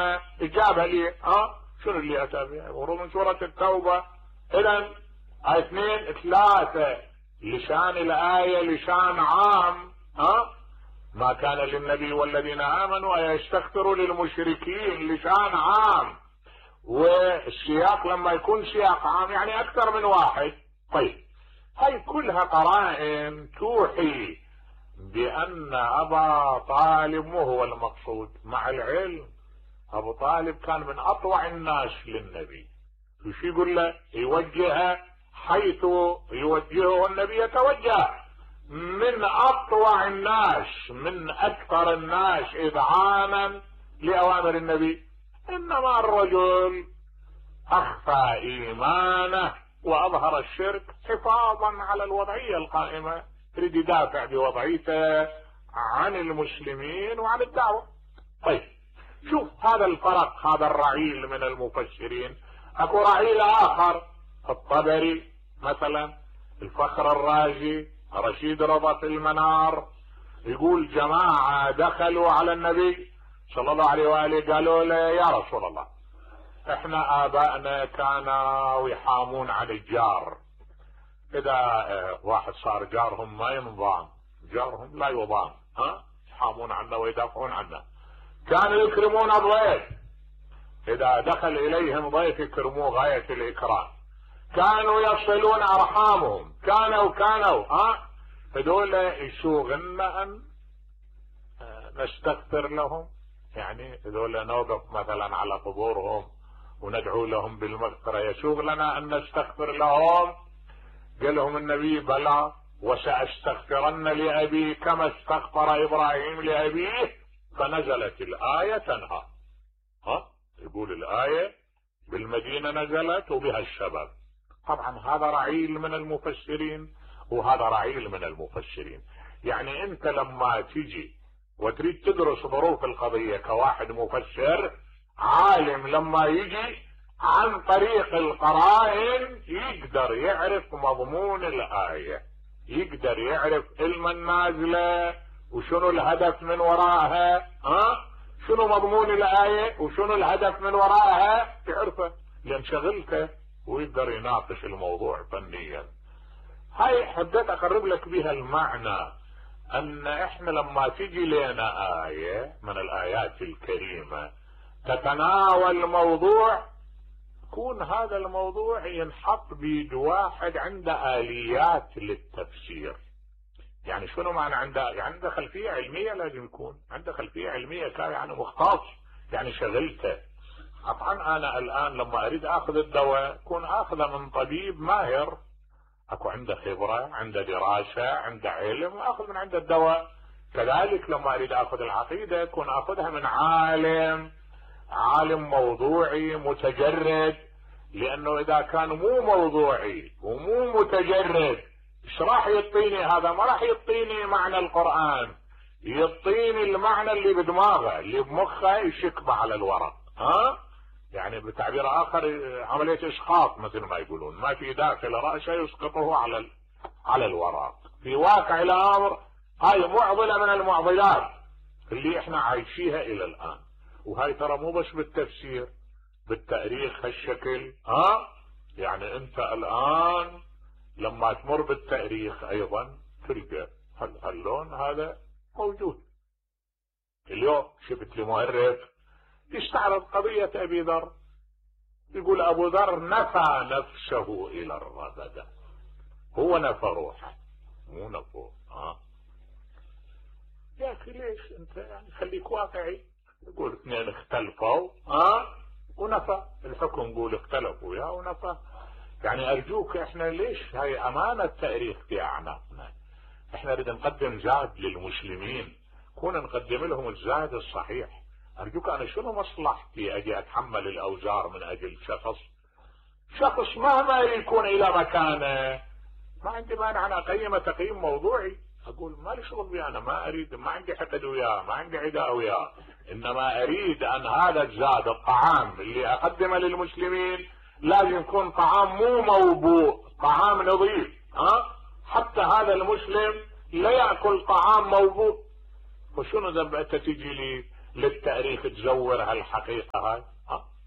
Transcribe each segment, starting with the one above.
الامانة اجابة لي. شنو اللي اتى بها؟ ورود من سورة التوبة. اذا 2 3 لشان الآية لشان عام. ما كان للنبي والذين امنوا ان يستغفروا للمشركين لشان عام، والسياق لما يكون سياق عام يعني اكثر من واحد. طيب هاي كلها قرائن توحي بان ابا طالب مو هو المقصود، مع العلم ابو طالب كان من اطوع الناس للنبي. وش يقول له؟ يوجهه حيث يوجهه النبي يتوجه، من اطوع الناس، من اكثر الناس اذعانا لاوامر النبي. انما الرجل اخفى ايمانه واظهر الشرك حفاظا على الوضعية القائمة، يريد يدافع بوضعيته عن المسلمين وعن الدعوة. طيب شوف هذا الفرق، هذا الرعيل من المفسرين. اكو رعيل اخر، الطبري مثلا، الفخر الرازي، رشيد رضا في المنار، يقول جماعة دخلوا على النبي صلى الله عليه وآله قالوا له يا رسول الله احنا ابائنا كانوا يحامون عن الجار، اذا واحد صار جارهم ما ينضام، جارهم لا يضام، يحامون عنه ويدافعون عنه. كانوا يكرمون الضيف، اذا دخل اليهم ضيف يكرموه غاية الاكرام. كانوا يصلون ارحامهم، كانوا هذول يسوغنا ان نستغفر لهم، يعني هذول نوقف مثلا على قبورهم وندعو لهم بالمغفرة، يسوغ لنا ان نستغفر لهم. قال لهم النبي بلى وسأستغفرن لأبي كما استغفر إبراهيم لأبيه، فنزلت الآية تنهى. يقول الآية بالمدينة نزلت وبها الشباب. طبعا هذا رعيل من المفسرين وهذا رعيل من المفسرين. يعني انت لما تجي وتريد تدرس ظروف القضية كواحد مفسر عالم، لما يجي عن طريق القرائن يقدر يعرف مضمون الآية، يقدر يعرف علم النازلة وشنو الهدف من وراءها، شنو مضمون الآية وشنو الهدف من وراءها، تعرفه لان شغلته، ويقدر يناقش الموضوع فنيا. هاي حبيت اقرب لك بها المعنى ان احنا لما تجي لنا آية من الآيات الكريمة تتناول موضوع، يكون هذا الموضوع ينحط بيد واحد عنده آليات للتفسير. يعني شنو معنى عنده خلفية علمية، لازم يكون عنده خلفية علمية، كان يعني مختص، يعني شغلته. طبعا انا الان لما اريد اخذ الدواء اكون اخذه من طبيب ماهر، اكو عنده خبرة، عنده دراسة، عنده علم، واخذ من عنده الدواء. كذلك لما اريد اخذ العقيدة اكون اخذها من عالم موضوعي متجرد، لانه اذا كان مو موضوعي ومو متجرد ايش راح يعطيني؟ هذا ما راح يعطيني معنى القرآن، يعطيني المعنى اللي بدماغه اللي بمخه يشكبه على الورق. يعني بتعبير اخر عملية اسقاط مثل ما يقولون، ما في داخل رأسه يسقطه على الورق. في واقع الامر هاي معضلة من المعضلات اللي احنا عايشيها الى الان. وهاي ترى مو بس بالتفسير، بالتاريخ هالشكل. يعني انت الان لما تمر بالتاريخ ايضا تلقى هاللون هذا موجود. اليوم شفت لي مؤرخ يستعرض قضية ابي ذر، يقول ابو ذر نفى نفسه الى الربدة، هو نفى روحه مو نفوه. يا اخي ليش انت يعني خليك واقعي. يقول 2 اختلفوا ونفى الحكم، يقول اختلفوا يا ونفى. يعني ارجوك احنا ليش هاي امانة تاريخ في اعناقنا، احنا نريد نقدم زاد للمسلمين، كون نقدم لهم الزاد الصحيح. ارجوك انا شنو مصلحتي اجي اتحمل الاوزار من اجل شخص مهما يكون الى مكانه؟ ما عندي مانع انا اقيمه تقييم موضوعي، اقول ما لي شغل بيه، انا ما اريد، ما عندي حقد وياه، ما عندي عداء وياه، انما اريد ان هذا الزاد الطعام اللي اقدمه للمسلمين لازم يكون طعام مو موبوء، طعام نظيف. حتى هذا المسلم لا يأكل طعام موبوء. وشنو ذنب انت تجي لي للتاريخ تزور هالحقيقة هاي؟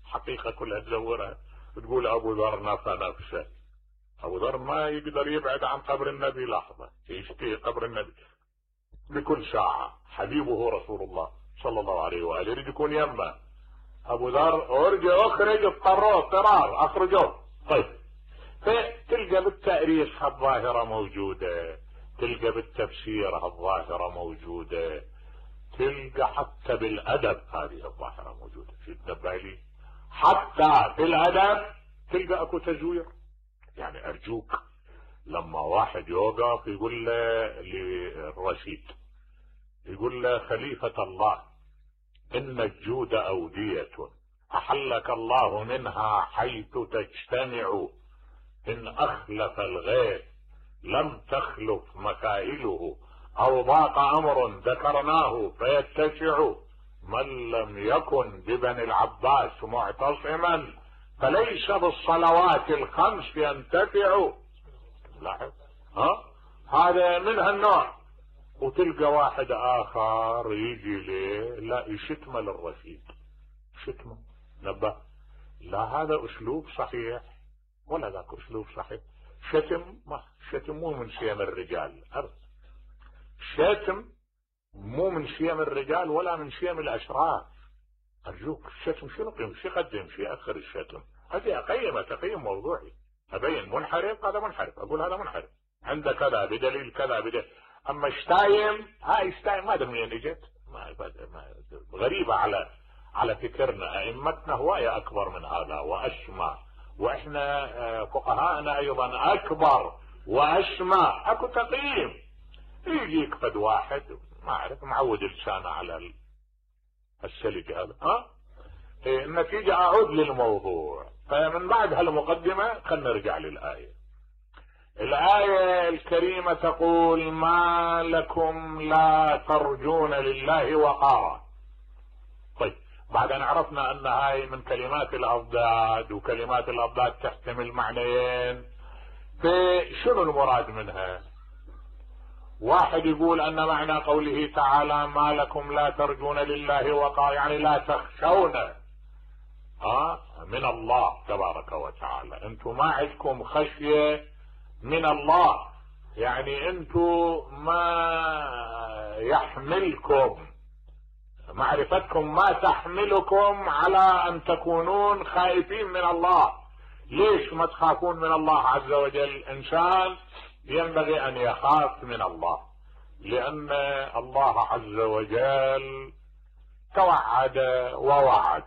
حقيقة كلها تزورها. تقول ابو ذر نفسه. ابو ذر ما يقدر يبعد عن قبر النبي لحظة، يشتهي قبر النبي بكل ساعة، حبيبه رسول الله صلى الله عليه وآله يريد يكون يمه. ابو ذر ارجع اخرج، اضطروه اضطرار اخرجوه. طيب، فتلقى بالتاريخ هالظاهرة موجودة، تلقى بالتفسير هالظاهرة موجودة، تلقى حتى بالادب هذه الظاهرة موجودة. في تنبه حتى في الادب تلقى اكو تزوير. يعني ارجوك لما واحد يوقف يقول له للرشيد، يقول له خليفة الله ان الجود اودية احلك الله منها حيث تجتمع، ان اخلف الغيث لم تخلف مكائله، او ضاق امر ذكرناه فيتسع، من لم يكن ببني العباس معتصما فليس بالصلوات الخمس ينتفع. لاحظ هذا من هالنوع. وتلقى واحد اخر يجي ليه لا يشتم للرشيد، شتمه نبه، لا هذا اسلوب صحيح ولا ذاك اسلوب صحيح. شتم مو من شيم الرجال ابدا، شتم مو من شيم الرجال ولا من شيم الاشراف. ارجوك الشتم شنو قيم، شو يقدم، شو ياخر الشتم؟ هذه تقييم موضوعي، ابين منحرف هذا منحرف، اقول هذا منحرف عنده كذا بدليل كذا بدليل. اما شتايم، هاي شتايم ما ادري منين اجت، غريبه على فكرنا. ائمتنا هوايه اكبر من هذا واشمى، واحنا فقهاءنا ايضا اكبر واشمى. اكو تقييم. يجيك فد واحد ما اعرف معود لسانه على السلك هذا. النتيجة اعود للموضوع. فمن بعد هالمقدمة خلنا نرجع للآية. الآية الكريمة تقول ما لكم لا ترجون لله وقارا. طيب، بعد ان عرفنا ان هاي من كلمات الاضداد، وكلمات الاضداد تحتمل معنيين، فشنو المراد منها؟ واحد يقول ان معنى قوله تعالى ما لكم لا ترجون لله وقارا يعني لا تخشون من الله تبارك وتعالى، انتم ما عندكم خشية من الله، يعني انتم ما يحملكم معرفتكم، ما تحملكم على ان تكونون خائفين من الله. ليش ما تخافون من الله عز وجل؟ انسان ينبغي ان يخاف من الله، لان الله عز وجل توعد ووعد،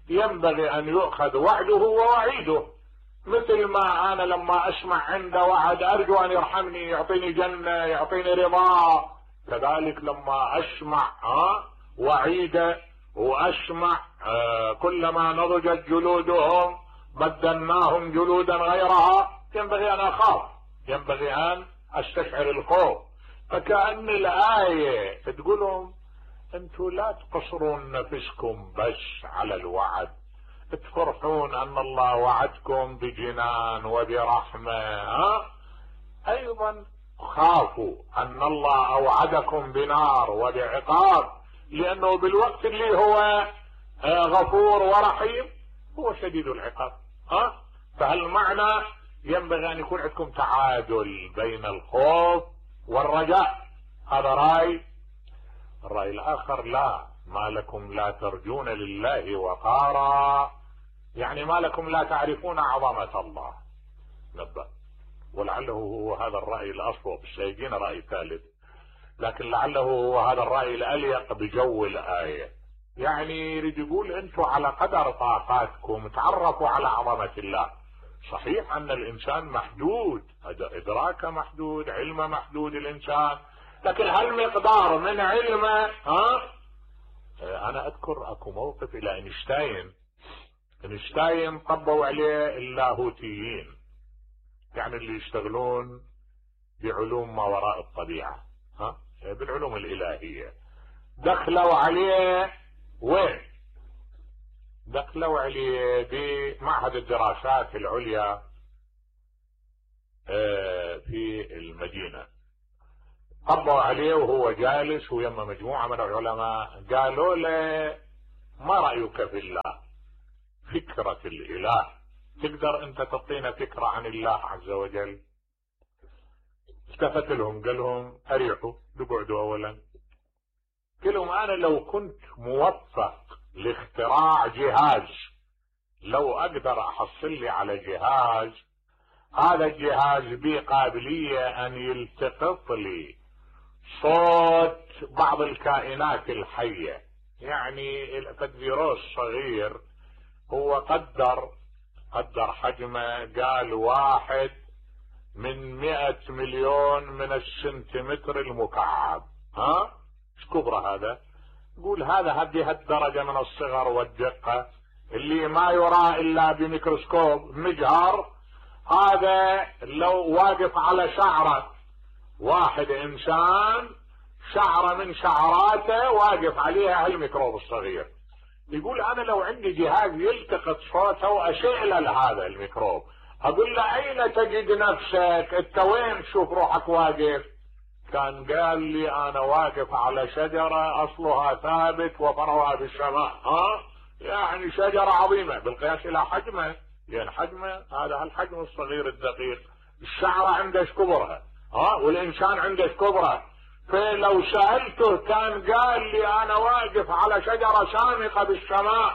ينبغي ان يؤخذ وعده ووعيده. مثل ما انا لما اسمع عنده وعد ارجو ان يرحمني، يعطيني جنة، يعطيني رضا، كذلك لما اسمع وعيده واسمع كلما نضجت جلودهم بدلناهم جلودا غيرها، ينبغي ان اخاف، ينبغي ان استشعر الخوف. فكأن الآية تقولهم انتوا لا تقصرون نفسكم بس على الوعد، تفرحون ان الله وعدكم بجنان وبرحمة، ايضا خافوا ان الله اوعدكم بنار وبعقاب، لانه بالوقت اللي هو غفور ورحيم هو شديد العقاب. فهالمعنى ينبغي ان يكون عندكم تعادل بين الخوف والرجاء. هذا رأي. الرأي الاخر لا، ما لكم لا ترجون لله وقارا يعني ما لكم لا تعرفون عظمة الله. نبأ، ولعله هو هذا الرأي الأصوب، سيجينا رأي ثالث، لكن لعله هو هذا الرأي الأليق بجو الآية. يعني يريد يقول انتم على قدر طاقاتكم تعرفوا على عظمة الله. صحيح ان الانسان محدود، ادراكه محدود، علمه محدود الانسان، لكن هالمقدار من علمه انا اذكر اكو موقف الى اينشتاين طبوا عليه اللاهوتيين، يعني اللي يشتغلون بعلوم ما وراء الطبيعة، بالعلوم الالهية، دخلوا عليه وين؟ دخلوا عليه بمعهد الدراسات العليا في المدينة. طبوا عليه وهو جالس ويما مجموعة من العلماء، قالوا له ما رأيك في الله؟ فكرة الإله، تقدر أنت تعطينا فكرة عن الله عز وجل؟ التفت لهم قال لهم أريحوا، اقعدوا أولا. قال لهم أنا لو كنت موفق لاختراع جهاز، لو أقدر أحصل لي على جهاز، هذا الجهاز به قابلية أن يلتقط لي صوت بعض الكائنات الحية. يعني الفيروس صغير، هو قدر حجمه، قال 1 من 100 مليون من السنتيمتر المكعب. ايش كبره هذا؟ يقول هذه الدرجة من الصغر والدقة اللي ما يرى الا بميكروسكوب مجهر، هذا لو واقف على شعرة واحد انسان، شعرة من شعراته واقف عليها هالميكروب الصغير. يقول انا لو عندي جهاز يلتقط صوته واشعل هذا الميكروب، اقول له اين تجد نفسك؟ انت وين تشوف روحك واقف؟ كان قال لي انا واقف على شجرة اصلها ثابت وفرعها بالسماء. يعني شجرة عظيمة بالقياس الى حجمه، لان حجمه هذا الحجم الصغير الدقيق. الشعرة عنده كبرها، والانسان عنده كبره. فلو سألته كان قال لي انا واقف على شجرة شامخة بالسماء.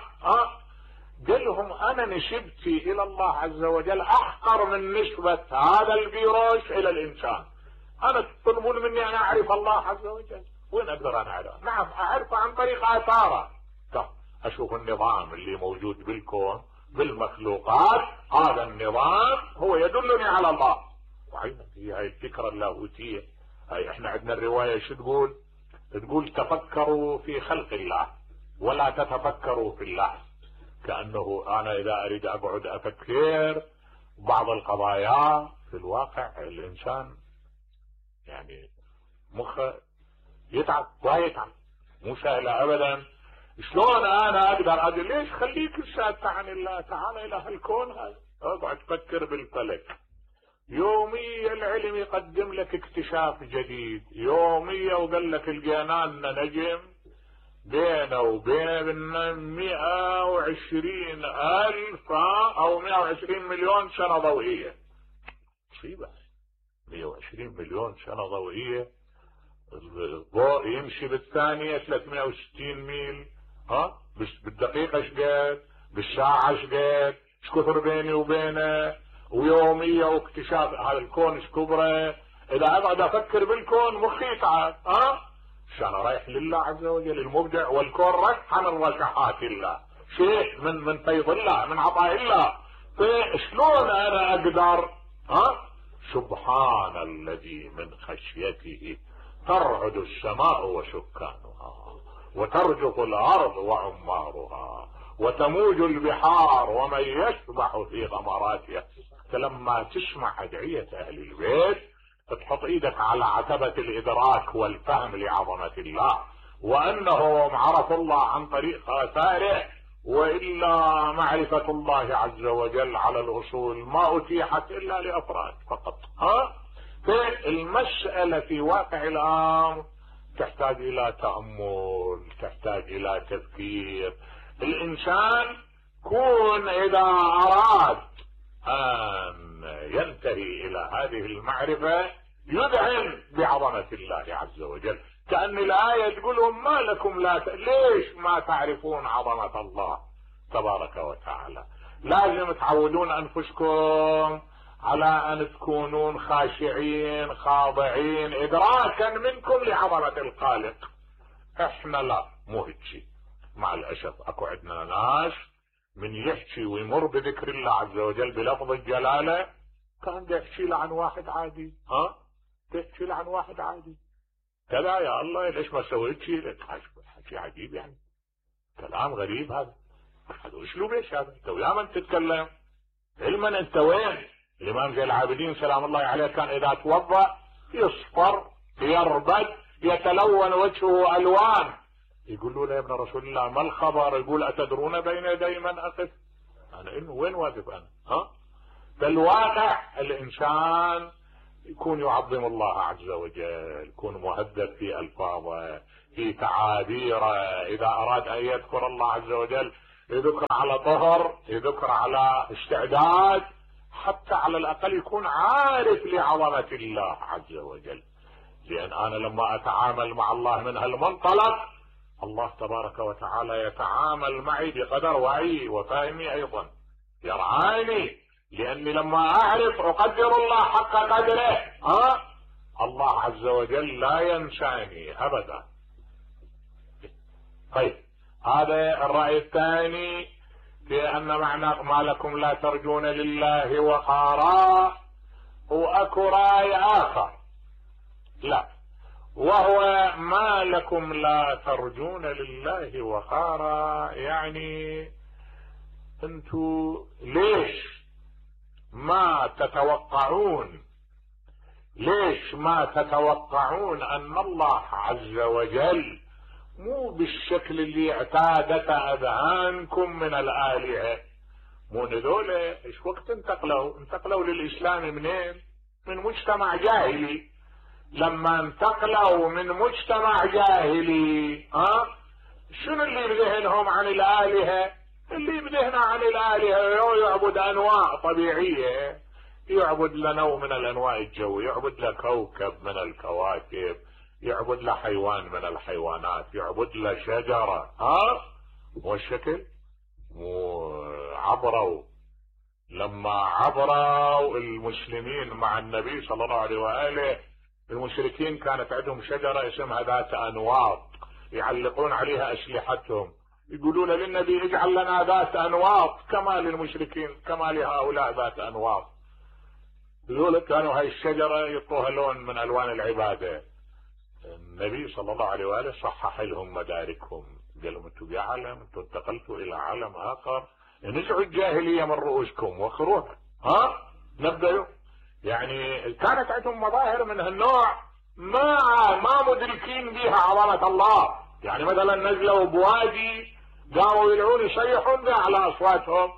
قال لهم انا نسبتي الى الله عز وجل احقر من نسبة هذا الفيروس الى الانسان. انا تطلبون مني ان اعرف الله عز وجل، وين اقدر انا اعرفه؟ نعم اعرفه عن طريق اثاره. اشوف النظام اللي موجود بالكون بالمخلوقات، هذا النظام هو يدلني على الله. وعينا هي الفكرة اللاهوتية. هاي احنا عندنا الرواية شو تقول؟ تقول تفكروا في خلق الله ولا تتفكروا في الله. كأنه انا اذا اريد اقعد افكر بعض القضايا، في الواقع الانسان يعني مخه يتعب ويتعب، مو سهلة ابدا. شلون انا اقدر اقول ليش خليك ساكت عن الله، تعال الى هالكون هذا، اقعد تفكر بالفلك. يوميا العلم يقدم لك اكتشاف جديد، يوميا وقال لك لقينا لنا نجم بينه وبين 120,000 او 120 مليون سنة ضوئية. مصيبة، 120 مليون سنة ضوئية. الضوء يمشي بالثانية 360 ميل، بالدقيقة ايش قد؟ بالساعة ايش قد؟ ايش كثر بيني وبينه؟ ويومية واكتشاف هذا الكون ايش كبره. اذا اقعد افكر بالكون مخي يتعب. انا رايح لله عز وجل المبدع، والكون رشحة من رشحات الله، شيء من فيض الله، من عطاء الله. فشلون انا اقدر؟ سبحان الذي من خشيته ترعد السماء وسكانها، وترجف الارض وعمارها، وتموج البحار ومن يسبح في غمراتها. لما تسمع ادعية اهل البيت تحط ايدك على عتبة الادراك والفهم لعظمة الله، وانهم عرفوا الله عن طريق اثاره، والا معرفة الله عز وجل على الاصول ما اتيحت الا لافراد فقط. فالمسألة في واقع الامر تحتاج الى تأمل، تحتاج الى تفكير. الانسان كون اذا اراد ان ينتهي الى هذه المعرفة يذعن بعظمة الله عز وجل. كأن الآية تقولهم ما لكم ليش ما تعرفون عظمة الله تبارك وتعالى؟ لازم تعودون انفسكم على ان تكونون خاشعين خاضعين ادراكا منكم لعظمة الخالق. احنا لا، مو هيك. مع الاسف اكو عندنا ناس من يحكي ويمر بذكر الله عز وجل بلفظ الجلالة كان يحكي له عن واحد عادي. تحكي له عن واحد عادي كذا، يا الله ليش ما سويت شيء؟ حكي عجيب، يعني كلام غريب هذا اسلوب ايش هذا؟ انت ويا من تتكلم علما انت وين؟ الامام زين العابدين سلام الله عليه كان اذا توضأ يصفر يربد يتلون وجهه الوان. يقولوا له يا ابن رسول الله ما الخبر؟ يقول اتدرون بين يدي من اقف؟ انا انه وين واقف انا؟ بالواقع الانسان يكون يعظم الله عز وجل، يكون مهذب في الفاظه، في تعابيره. اذا اراد ان يذكر الله عز وجل يذكر على طهر، يذكر على استعداد، حتى على الاقل يكون عارف لعظمه الله عز وجل. لان انا لما اتعامل مع الله من هالمنطلق، الله تبارك وتعالى يتعامل معي بقدر وعي وفهمي ايضا، يرعاني، لاني لما اعرف اقدر الله حق قدره الله عز وجل لا ينساني ابدا. طيب، هذا الرأي الثاني في ان معنى ما لكم لا ترجون لله وقارا. واكو رأي اخر، لا، وهو ما لكم لا ترجون لله وقارا، يعني انتو ليش ما تتوقعون ان الله عز وجل مو بالشكل اللي اعتادت اذهانكم من الالهه؟ مو هذول ايش وقت انتقلوا للاسلام منين؟ من مجتمع جاهلي. لما انتقلوا من مجتمع جاهلي شنو اللي بذهنهم عن الالهه؟ اللي بذهنه عن الالهه يعبد انواع طبيعيه، يعبد لنوع من الانواع الجو، يعبد لكوكب من الكواكب، يعبد لحيوان من الحيوانات، يعبد لشجره. والشكل عبروا، لما عبروا المسلمين مع النبي صلى الله عليه واله، المشركين كانت عندهم شجره اسمها ذات انواط، يعلقون عليها اسلحتهم، يقولون للنبي اجعل لنا ذات انواط كما للمشركين، كما لهؤلاء ذات انواط. يقول كانوا هاي الشجره يعطوها لون من الوان العباده. النبي صلى الله عليه واله صحح لهم مداركهم، قال لهم انتم بعالم، انتم انتقلتوا الى عالم اخر، نزعوا الجاهليه من رؤوسكم واخروها. نبدأوا. يعني كانت عندهم مظاهر من هالنوع ما مدركين بها عظمه الله. يعني مثلا نزلوا بوادي، قاموا يدعون يصيحون على اصواتهم،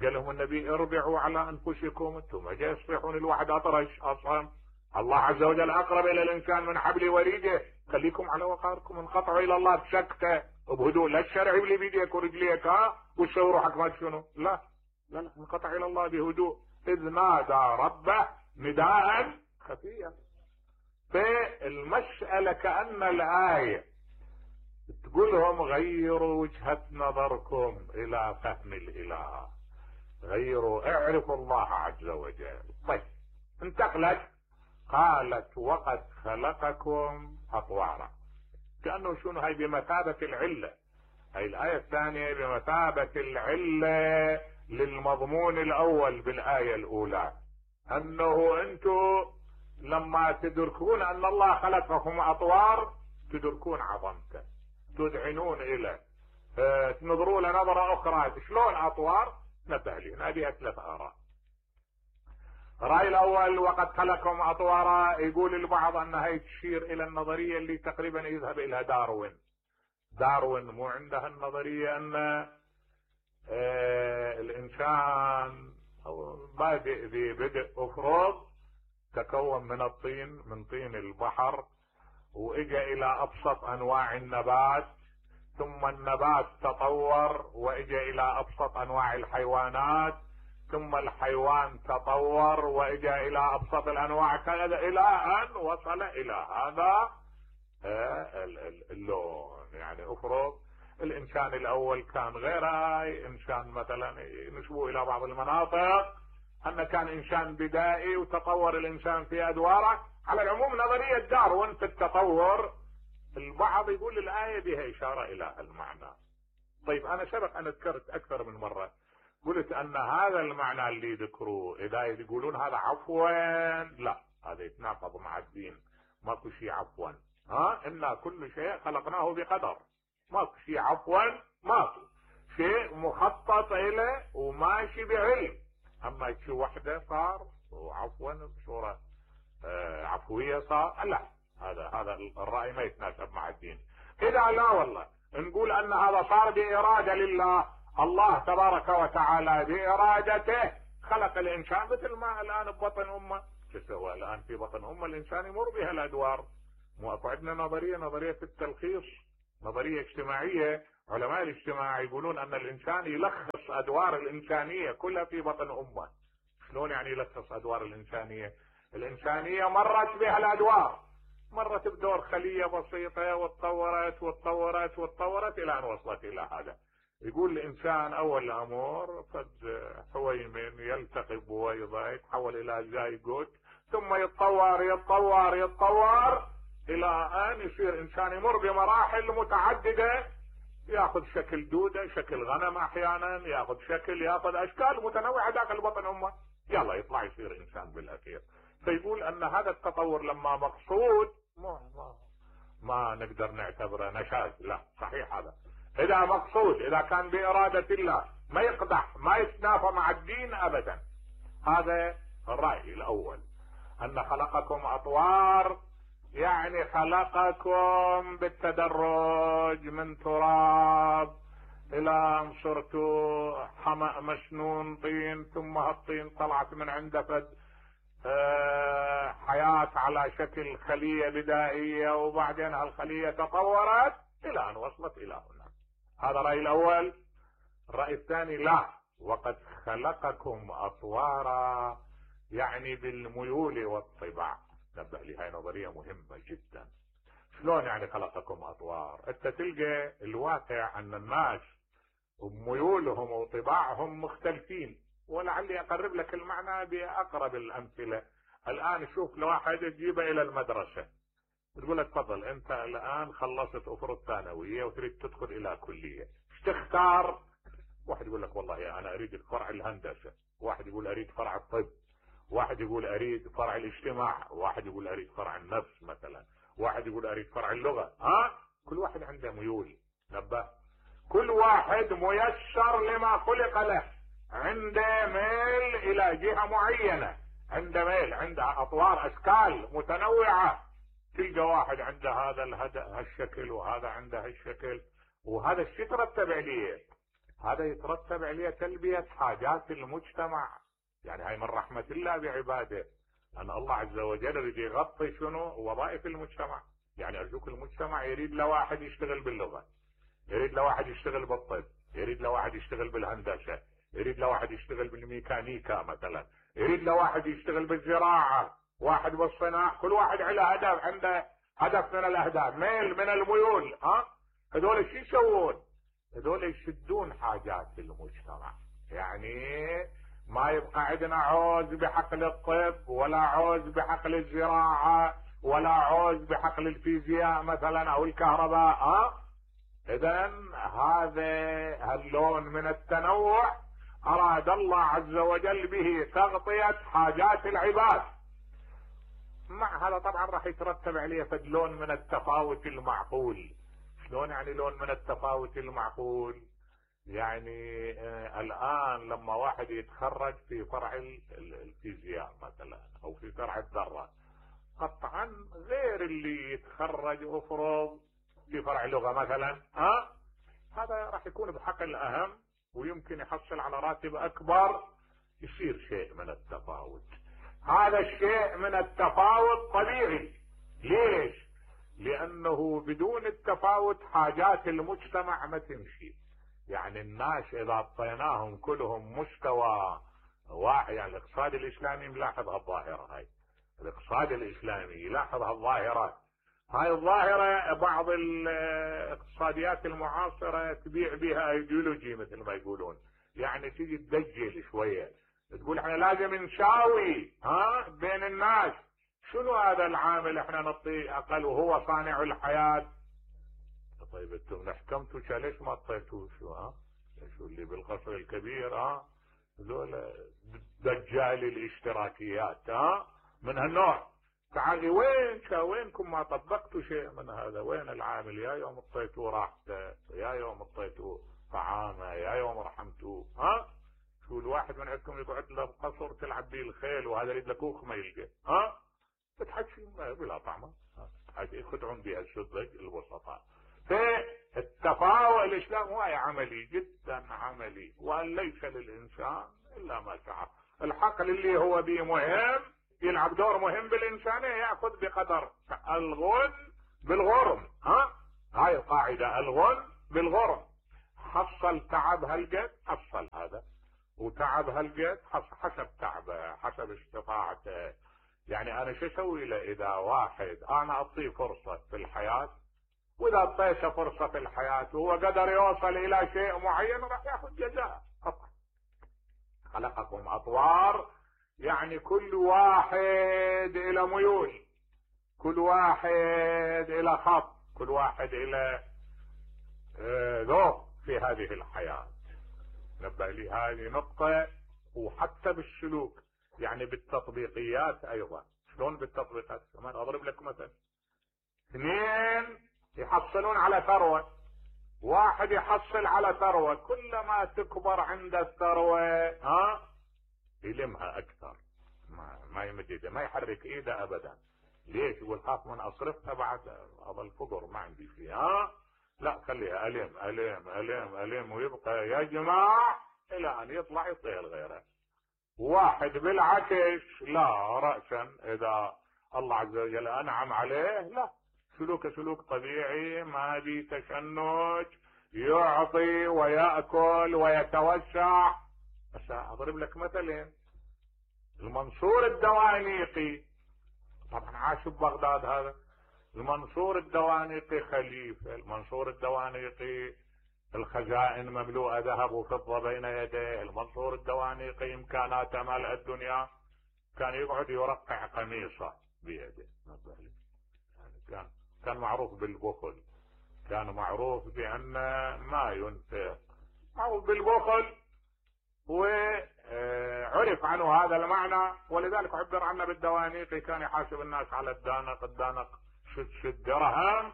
قال لهم النبي اربعوا على انفسكم، انتم ما جاي يصيحون الواحد اطرش اصلا، الله عز وجل اقرب الى الانسان من حبل وريده، خليكم على وقاركم، انقطعوا الى الله بسكته وبهدوء، لا الشرع اللي بيديك ورجليك وتسوي روحك ما شنو، لا انقطع الى الله بهدوء، اذ نادى ربه نداء خفيا. فالمسألة كأن الآية تقولهم غيروا وجهة نظركم الى فهم الاله، غيروا، اعرفوا الله عز وجل. طيب، انتقلت، قالت وقد خلقكم اطوارا، كأنه شنو هاي بمثابة العلة، هاي الآية الثانية بمثابة العلة للمضمون الاول بالآية الاولى، انه انتم لما تدركون ان الله خلقكم اطوار تدركون عظمته، تذعنون اليه، تنظروا له نظرة اخرى. شلون اطوار؟ نبه لي، هذه ثلاث اراء. الرأي الاول وقد خلقكم اطوارا، يقول البعض ان هي تشير الى النظرية اللي تقريبا يذهب الى داروين مو عندها النظرية ان الانسان بادئ ببدء افرض، تكون من الطين، من طين البحر، واجا الى ابسط انواع النبات، ثم النبات تطور واجا الى ابسط انواع الحيوانات، ثم الحيوان تطور واجا الى ابسط الانواع، كذا الى ان وصل الى هذا اللون. يعني افرض الانسان الاول كان غير هاي، انسان مثلا نشبه الى بعض المناطق ان كان انسان بدائي وتطور الانسان في ادواره. على العموم نظرية داروين في التطور، البعض يقول الآية بها اشارة الى المعنى. طيب، انا سبق ان ذكرت اكثر من مرة، قلت ان هذا المعنى اللي ذكروه اذا يقولون هذا عفوا، لا، هذا يتناقض مع الدين، ماكو شيء عفوا. إنا كل شيء خلقناه بقدر، ماكو شيء عفوا، ماكو شيء مخطط إليه وماشي بعلم. أما شيء وحده صار وعفوا بصورة عفوية صار، لا، هذا الرأي ما يتناسب مع الدين. إذا لا والله نقول أن هذا صار بإرادة لله، الله تبارك وتعالى بإرادته خلق الإنسان مثل ما الآن ببطن أمه شو سوى الان في بطن الانسان يمر بها الادوار. مو اكو عندنا نظريه في التلخيص، نظريه اجتماعيه، علماء الاجتماع يقولون ان الانسان يلخص ادوار الانسانيه كلها في بطن امه. شلون يعني يلخص ادوار الانسانيه؟ الانسانيه مرت بها الادوار، مرت بدور خليه بسيطه وتطورت وتطورت وتطورت الى ان وصلت الى هذا. يقول الانسان اول امر فد حويمن يلتقي بويضه يتحول الى زايجوت، ثم يتطور يتطور يتطور الى ان يصير انسان يمر بمراحل متعدده، ياخذ شكل دوده، شكل غنم، احيانا ياخذ اشكال متنوعه داخل بطن امه، يلا يطلع يصير انسان بالاخير. فيقول ان هذا التطور لما مقصود ما نقدر نعتبره نشاز، لا صحيح هذا اذا مقصود، اذا كان بارادة الله ما يقدح، ما يتنافى مع الدين ابدا. هذا الرأي الاول، ان خلقكم اطوار، يعني خلقكم بالتدرج من تراب الى ان صرتوا حمأ مسنون طين، ثم هالطين طلعت من عنده فد حياة على شكل خلية بدائية، وبعدين هالخلية تطورت الى ان وصلت الى هنا. هذا الرأي الاول. الرأي الثاني لا، وقد خلقكم اطوارا، يعني بالميول والطباع. نبه لي هاي نظرية مهمة جدا. شلون يعني خلقكم اطوار؟ انت تلقى الواقع ان الناس وميولهم وطباعهم مختلفين، ولعلي اقرب لك المعنى باقرب الامثلة. الان شوف لواحد تجيبه الى المدرسة، تقول له تفضل انت الان خلصت افرض ثانوية وتريد تدخل الى كلية، ايش تختار؟ واحد يقول لك والله انا اريد فرع الهندسة، واحد يقول اريد فرع الطب، واحد يقول اريد فرع الاجتماع، واحد يقول اريد فرع النفس مثلا، واحد يقول اريد فرع اللغة. كل واحد عنده ميول. نبه، كل واحد ميسر لما خلق له، عنده ميل الى جهة معينة، عنده ميل، عنده اطوار، اشكال متنوعة. تلقى واحد عنده هذا هالشكل، وهذا عنده هالشكل، وهذا الشيء يترتب عليه، هذا يترتب عليه تلبية حاجات المجتمع. يعني هاي من رحمة الله بعباده، ان الله عز وجل يريد يغطي شنو؟ وظائف المجتمع. يعني ارجوك المجتمع يريد لواحد يشتغل باللغة، يريد لواحد يشتغل بالطب، يريد لواحد يشتغل بالهندسة، يريد لواحد يشتغل بالميكانيكا مثلا، يريد لواحد يشتغل بالزراعة، واحد بالصناعة. كل واحد عنده هدف من الاهداف، ميل من الميول. هذول شو يسوون؟ هذول يشدون حاجات المجتمع. يعني ما يبقى عندنا عوز بحقل الطب، ولا عوز بحقل الزراعة، ولا عوز بحقل الفيزياء مثلا او الكهرباء. اذا هذا اللون من التنوع اراد الله عز وجل به تغطية حاجات العباد. مع هذا طبعا راح يترتب عليه فد لون من التفاوت المعقول. شلون يعني لون من التفاوت المعقول؟ يعني الان لما واحد يتخرج في فرع الفيزياء مثلا او في فرع الذرة، قطعا غير اللي يتخرج افرض في فرع لغة مثلا. هذا راح يكون بحقل اهم، ويمكن يحصل على راتب اكبر، يصير شيء من التفاوت. هذا الشيء من التفاوت طبيعي. ليش؟ لانه بدون التفاوت حاجات المجتمع ما تمشي. يعني الناس اذا اعطيناهم كلهم مستوى واحد، يعني الاقتصاد الاسلامي ملاحظ هالظاهرة هاي، الاقتصاد الاسلامي يلاحظ هالظاهرة. هاي الظاهرة بعض الاقتصاديات المعاصرة تبيع بها ايديولوجي مثل ما يقولون، يعني تيجي تدجل شوية، تقول احنا لازم نساوي بين الناس. شنو هذا العامل احنا نعطيه اقل وهو صانع الحياة؟ طيب انتم حكمتوا ليش ما اعطيتوه؟ شو اللي بالقصر الكبير؟ ذولا دجال الاشتراكيات من هالنوع. تعالي وينكم ما طبقتوا شيء من هذا؟ وين العامل؟ يا يوم اعطيتوه راحته، يا يوم اعطيتوه طعامه، يا يوم رحمتوه. شو الواحد من عندكم يقعد له بقصر تلعب به الخيل، وهذا يريد له كوخ ما يلقى. بتحكي بلا طعمه، يخدعون بها السذج الوسطاء. فالتفاوت الاسلام هو عملي جدا عملي، وان ليس للانسان الا ما سعى. الحقل اللي هو به مهم يلعب دور مهم بالإنسانية، يأخذ بقدر الغن بالغرم. هاي القاعدة، الغن بالغرم. حصل تعب هالقد حصل هذا، وتعب هالقد حسب تعبه حسب استطاعته. يعني انا شو اسوي له اذا واحد انا اعطيه فرصة في الحياة، واذا اعطيته فرصة في الحياة وهو قدر يوصل الى شيء معين راح ياخذ جزاء قطعا. خلقكم اطوار، يعني كل واحد الى ميول، كل واحد الى خط، كل واحد الى ذوق في هذه الحياة. نبه لي هذه نقطة. وحتى بالسلوك، يعني بالتطبيقيات ايضا. شلون بالتطبيقات؟ كمان اضرب لك مثل، اثنين يحصلون على ثروة، واحد يحصل على ثروة، كلما تكبر عند الثروة يلمها اكثر، ما يمد ايده، ما يحرك ايده ابدا. ليش؟ يقول خاف من اصرفها بعد اظل فقر ما عندي فيها. لا، خليها الم الم الم الم، ويبقى يجمع الى ان يطلع يطير غيره. واحد بالعكس لا، رأسا اذا الله عز وجل انعم عليه لا، سلوك سلوك طبيعي ما بي تشنج، يعطي ويأكل ويتوسع. بس اضرب لك مثلين. المنصور الدوانيقي طبعا عاش ببغداد، هذا المنصور الدوانيقي خليفة. المنصور الدوانيقي الخزائن مملوءة ذهب وفضة بين يديه. المنصور الدوانيقي امكاناته ملء الدنيا، كان يقعد يرقع قميصه بيده. يعني كان معروف بالبخل، كان معروف بأن ما ينفق، معروف بالبخل، وعرف عنه هذا المعنى. ولذلك عبر عنه بالدوانيقي، كان يحاسب الناس على الدانق، الدانق شد درهم.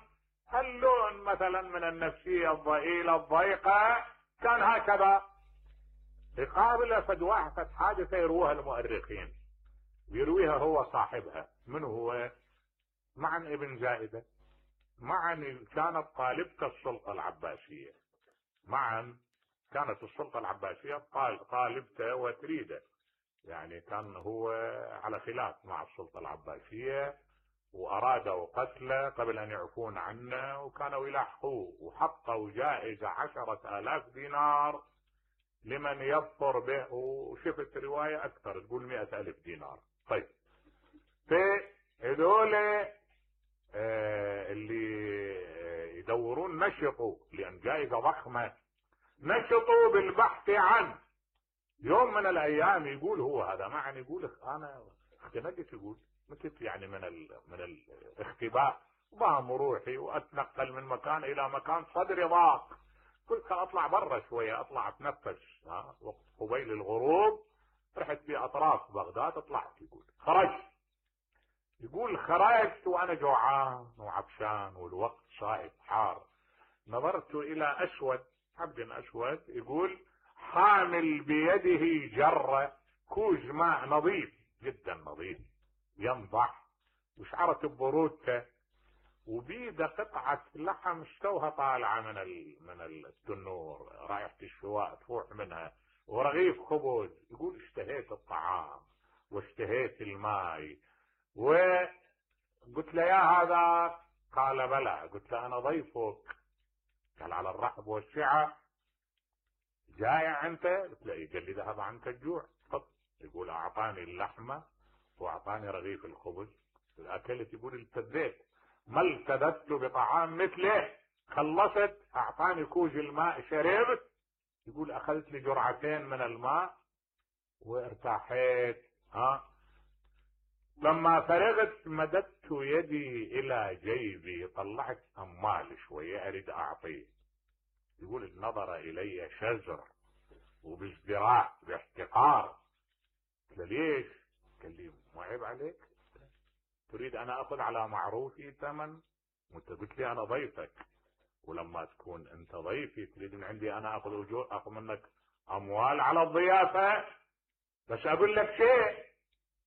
هاللون مثلا من النفسية الضئيلة الضيقة كان هكذا. يقابل فد واحد حادثة يروها المؤرخين، ويرويها هو صاحبها. من هو؟ معن ابن زائدة. معن كانت طالبة السلطة العباسية، معن كانت السلطة العباسية طالبته وتريده، يعني كان هو على خلاف مع السلطة العباسية، وارادوا قتله قبل ان يعفون عنه، وكانوا يلاحقوه، وحطوا جائزة 10,000 دينار لمن يظفر به. وشفت رواية اكثر تقول 100,000 دينار. طيب، فهذول اللي يدورون نشطوا، لان جائزة ضخمة، نشطوا بالبحث عنه. يوم من الايام يقول هو هذا معن، يقول انا اختنقت، يقول مكت يعني من الاختباء، ضام روحي واتنقل من مكان الى مكان، صدري ضاق، قلت اطلع برا شوية، اطلع اتنفس. وقت قبيل الغروب رحت باطراف بغداد، طلعت. يقول خرجت، يقول خرجت وانا جوعان وعطشان والوقت صائب حار. نظرت الى اسود، عبد اسود، يقول حامل بيده جرة كوز ماء نظيف جدا، نظيف ينضح، وشعرت ببرودته، وبيده قطعة لحم استوها طالعة من التنور، رائحة الشواء تفوح منها، ورغيف خبز. يقول اشتهيت الطعام واشتهيت الماء. وقلت له يا هذا، قال بلى. قلت له انا ضيفك. قال على الرحب والسعة. جائع انت؟ قلت له قال لي ذهب عنك الجوع. يقول اعطاني اللحمة واعطاني رغيف الخبز، اكلت. يقول التذيت، ما التذت بطعام مثله. خلصت، اعطاني كوز الماء شربت. يقول اخذت لي جرعتين من الماء وارتاحيت. لما فرغت مددت يدي الى جيبي، طلعت اموال شوية اريد اعطيه. يقول نظر الي شزر وبازدراء باحتقار. قلت له ليش؟ قال لي مو عيب عليك؟ تريد انا اخذ على معروفي ثمن؟ وانت قلت لي انا ضيفك، ولما تكون انت ضيفي تريد من عندي انا اخذ اجور، اخذ منك اموال على الضيافة. بس اقول لك شيء.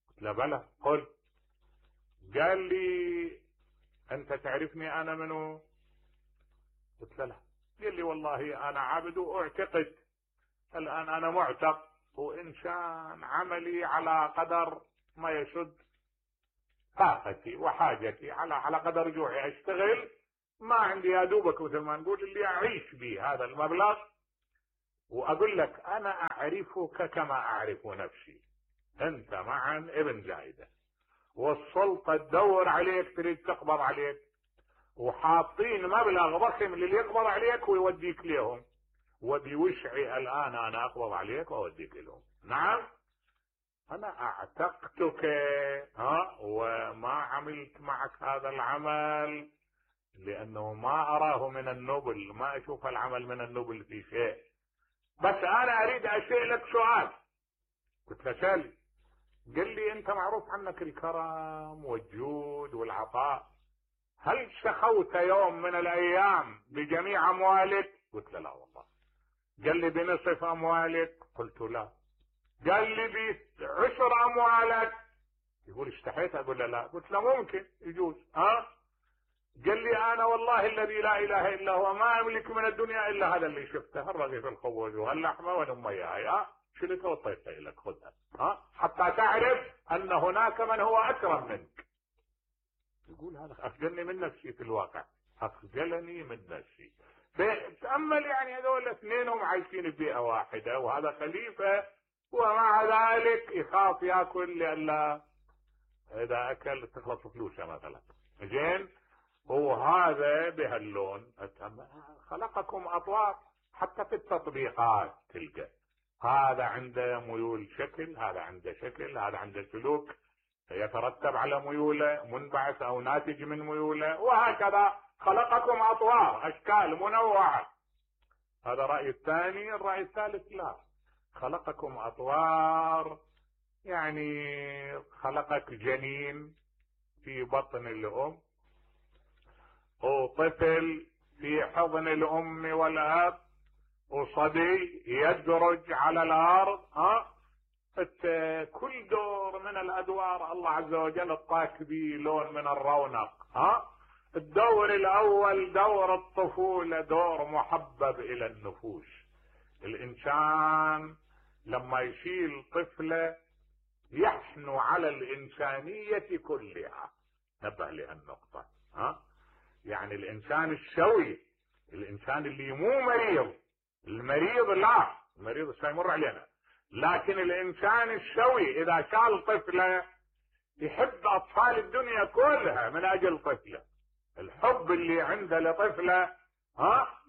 قلت له بلى قل. قال لي انت تعرفني انا منو؟ قلت له لا. قال لي والله انا عبد واعتقد. الان انا معتق، وانسان عملي على قدر ما يسد طاقتي وحاجتي على قدر جوعي اشتغل، ما عندي يا دوبك مثل ما نقول اللي اعيش به هذا المبلغ. واقول لك انا اعرفك كما اعرف نفسي، انت معا ابن زايدة، والسلطة تدور عليك تريد تقبض عليك، وحاطين مبلغ ضخم للي يقبض عليك ويوديك لهم، وبوشعي الان انا اقبض عليك واوديك لهم. نعم انا اعتقتك وما عملت معك هذا العمل لانه ما اراه من النبل، ما اشوف العمل من النبل في شيء، بس انا اريد اسالك سؤال. قلت له سأل. قال لي انت معروف عنك الكرم والجود والعطاء، هل شخوت يوم من الايام بجميع اموالك؟ قلت له لا والله. قال لي بنصف اموالك؟ قلت لا. قال لي بعشر اموالك؟ يقول اشتحيت اقول له لا. قلت له ممكن يجوز. قال لي انا والله الذي لا اله الا هو ما املك من الدنيا الا هذا اللي شفته، الرغيف الخبز وهاللحمه ونميها هاي، شلتها وطيتها لك خذها حتى تعرف ان هناك من هو اكرم منك. يقول هذا اخجلني من نفسي، في الواقع اخجلني من نفسي. تأمل يعني هذول اثنينهم عايشين ببيئة واحدة، وهذا خليفة ومع ذلك يخاف ياكل لألا اذا اكل تخلص فلوسه مثلا. زين، وهذا بهاللون. خلقكم اطوار، حتى في التطبيقات تلقى هذا عنده ميول شكل، هذا عنده شكل، هذا عنده سلوك يترتب على ميوله، منبعث او ناتج من ميوله، وهكذا خلقكم اطوار، اشكال منوعه. هذا الراي الثاني. الراي الثالث لا، خلقكم اطوار، يعني خلقك جنين في بطن الام، وطفل في حضن الام والاب، وصبي يدرج على الارض. كل دور من الادوار الله عز وجل اعطاك به لون من الرونق. الدور الاول دور الطفولة، دور محبب الى النفوس. الانسان لما يشيل طفلة يحنو على الانسانية كلها. نبه لهالنقطة. يعني الانسان السوي، الانسان اللي مو مريض، المريض لا، المريض سيمر علينا، لكن الانسان السوي اذا شال طفلة يحب اطفال الدنيا كلها من اجل طفلة. الحب اللي عنده لطفلة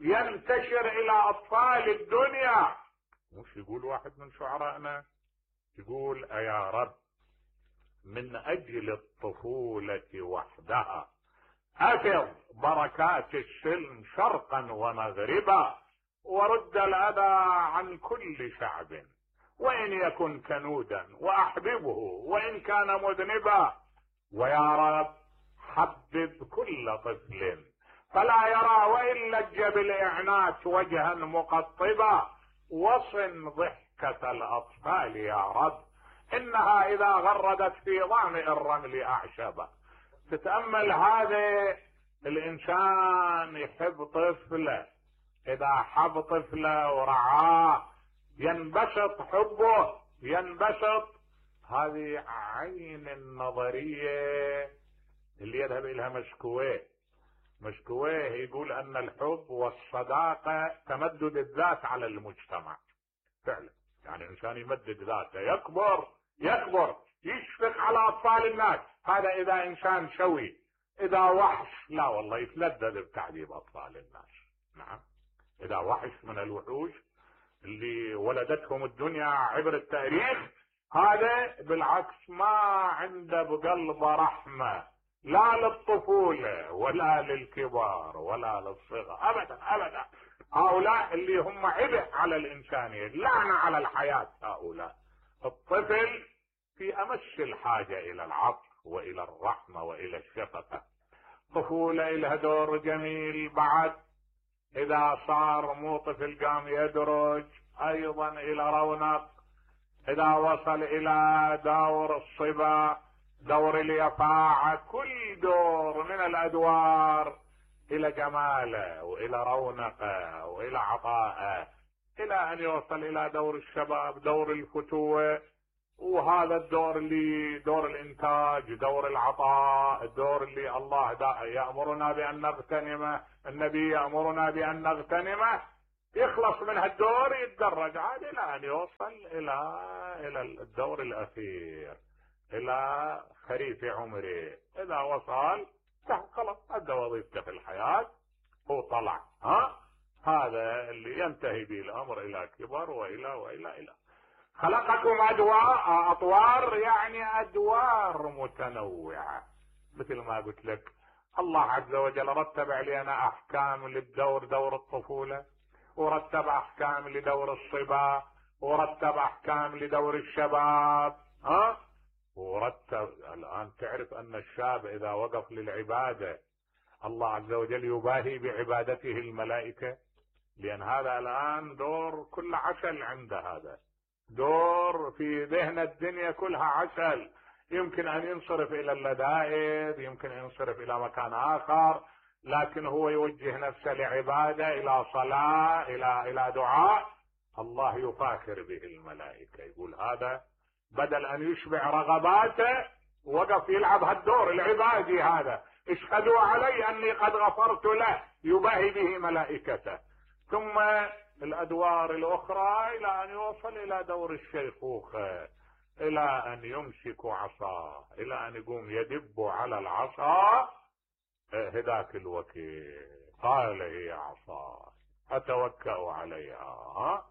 ينتشر الى اطفال الدنيا. مش يقول واحد من شعرائنا، يقول يا رب من اجل الطفولة وحدها افض بركات السلم شرقا ومغربا، ورد الاذى عن كل شعب، وان يكن كنودا واحببه وان كان مذنبا. ويا رب حبب كل طفل فلا يرى وان لج بالاعنات وجها مقطبا، وصن ضحكة الاطفال يا رب انها اذا غردت في ظامئ الرمل اعشبا. تتأمل هذا الانسان يحب طفله، اذا حب طفله ورعاه ينبسط حبه، ينبسط. هذه عين النظرية اللي يذهب اليها مشكويه. مشكويه يقول ان الحب والصداقة تمدد الذات على المجتمع. فعلا يعني الانسان يمدد ذاته، يكبر يشفق على اطفال الناس. هذا اذا انسان سوي. اذا وحش لا والله يتلذذ بتعذيب اطفال الناس. نعم، اذا وحش من الوحوش اللي ولدتهم الدنيا عبر التاريخ، هذا بالعكس ما عنده بقلبه رحمة، لا للطفولة ولا للكبار ولا للصغر ابدا ابدا. هؤلاء اللي هم عبء على الانسانية، لعنة على الحياة. هؤلاء الطفل في امس الحاجة الى العطف والى الرحمة والى الشفقة. طفولة لها دور جميل بعد. اذا صار مو طفل قام يدرج ايضا الى رونق. اذا وصل الى دور الصبا، دور اليفاعة، كل دور من الادوار الى جماله والى رونقه والى عطائه، الى ان يوصل الى دور الشباب، دور الفتوة. وهذا الدور اللي دور الانتاج، دور العطاء، الدور اللي الله يأمرنا بان نغتنمه، النبي يأمرنا بان نغتنمه، يخلص من هالدور يتدرج عاد الى ان يوصل الى الدور الاخير، الى خريف عمره. اذا وصل خلاص ادى وظيفته في الحياة وطلع. هذا اللي ينتهي به الامر الى كبر والى خلقكم اطوار، يعني ادوار متنوعة. مثل ما قلت لك الله عز وجل رتب علينا احكام للدور، دور الطفولة، ورتب احكام لدور الصبا، ورتب احكام لدور الشباب. ورتب الان تعرف ان الشاب اذا وقف للعبادة الله عز وجل يباهي بعبادته الملائكة، لان هذا الان دور كل عسل عنده، هذا دور في ذهن الدنيا كلها عسل، يمكن ان ينصرف الى اللذائذ، يمكن ان ينصرف الى مكان اخر، لكن هو يوجه نفسه لعبادة، الى صلاة، الى دعاء، الله يفاخر به الملائكة، يقول هذا بدل ان يشبع رغباته وقف يلعب هالدور العبادي هذا، اشهدوا علي اني قد غفرت له، يباهي به ملائكته. ثم الادوار الاخرى الى ان يوصل الى دور الشيخوخة، الى ان يمسك عصاه، الى ان يقوم يدب على العصا. هذاك الوكيل قال هي عصا اتوكأ عليها،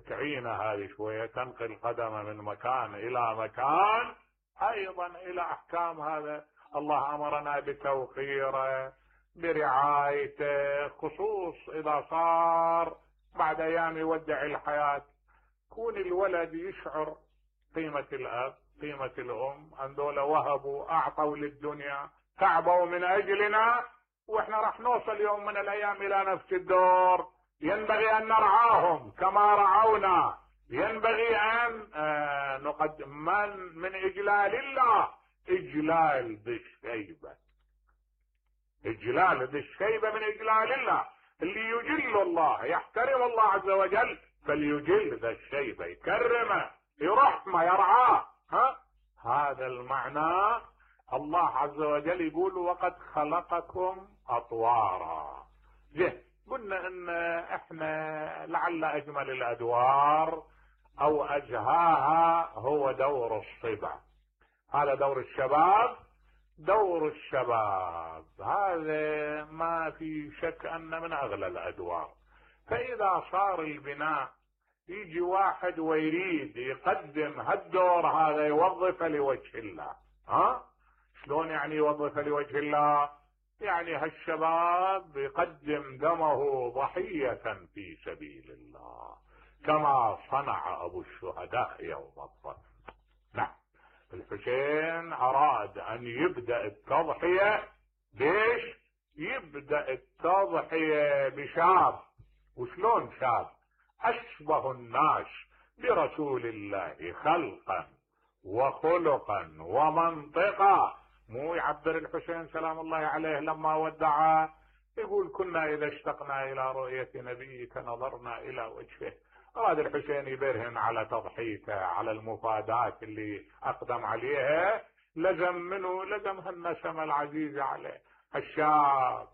تعين هذه شوية، تنقل قدم من مكان الى مكان، ايضا الى احكام. هذا الله امرنا بتوقيره، برعايته، خصوص اذا صار بعد ايام يودع الحياة، كون الولد يشعر قيمة الاب، قيمة الام، ان دول وهبوا اعطوا للدنيا، تعبوا من اجلنا، واحنا راح نوصل يوم من الايام الى نفس الدور، ينبغي ان نرعاهم كما رعونا، ينبغي ان نقدم من اجلال الله اجلال ذي الشيبة، اجلال ذي الشيبة من اجلال الله، اللي يجل الله يحترم الله عز وجل فليجل ذا الشيبة، يكرمه، يرحمه، يرعاه. هذا المعنى. الله عز وجل يقول وقد خلقكم اطوارا. قلنا ان احنا لعل اجمل الادوار او اجهاها هو دور الصبا، هذا دور الشباب. دور الشباب هذا ما في شك ان من اغلى الادوار. فاذا صار البناء يجي واحد ويريد يقدم هالدور هذا يوظف لوجه الله. شلون يعني يوظف لوجه الله؟ يعني هالشباب يقدم دمه ضحية في سبيل الله كما صنع ابو الشهداء يوم الصف. نعم، الحسين اراد ان يبدأ التضحية بيش؟ يبدأ التضحية بشاب. وشلون شاب؟ اشبه الناس برسول الله خلقا وخلقا ومنطقا. مو يعبر الحسين سلام الله عليه لما ودعه يقول كنا اذا اشتقنا الى رؤية نبيك نظرنا الى وجهه. اراد الحسين يبرهن على تضحيته، على المفادات اللي اقدم عليها، لزم منه لزم هالنسمة العزيزة عليه، الشاب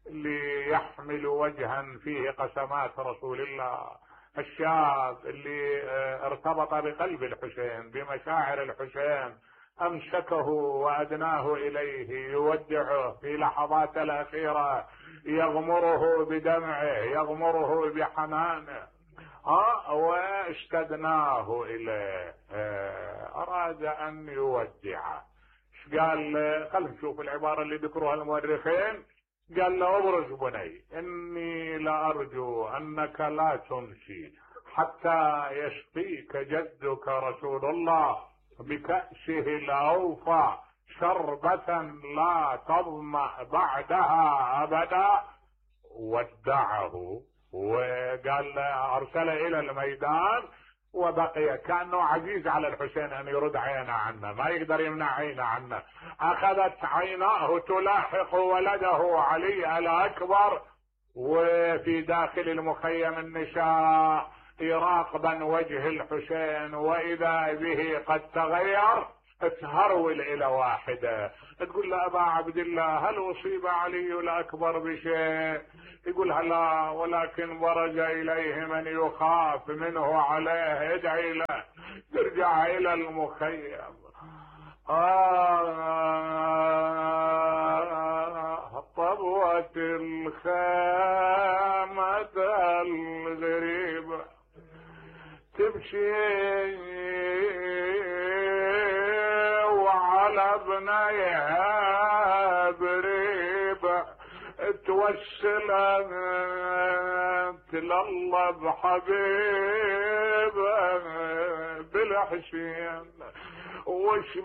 اللي يحمل وجها فيه قسمات رسول الله، الشاب اللي ارتبط بقلب الحسين، بمشاعر الحسين، امسكه وادناه اليه، يودعه في لحظات الاخيرة، يغمره بدمعه، يغمره بحنانه، واشتدناه اليه. اراد ان يودعه. ايش قال؟ خلينا نشوف العبارة اللي ذكروها المؤرخين. قال له ابرز بني اني لارجو انك لا تمشي حتى يسقيك جدك رسول الله بكأسه الاوفى شربة لا تظمأ بعدها ابدا. ودعه وقال ارسله الى الميدان، وبقي كأنه عزيز على الحسين ان يرد عينه عنه، ما يقدر يمنع عينه عنه. اخذت عيناه تلاحق ولده علي الاكبر، وفي داخل المخيم النساء يراقبا وجه الحسين، واذا به قد تغير، تهرول الى واحده تقول له ابا عبد الله هل اصيب علي الاكبر بشيء؟ يقول لا، ولكن برز اليه من يخاف منه عليه، ادعي له. ترجع الى المخيم. طبوة الخامة الغريبة تبكي وعلى ابنيها بريبة توسلت لله بحبيبه بالحسين، وش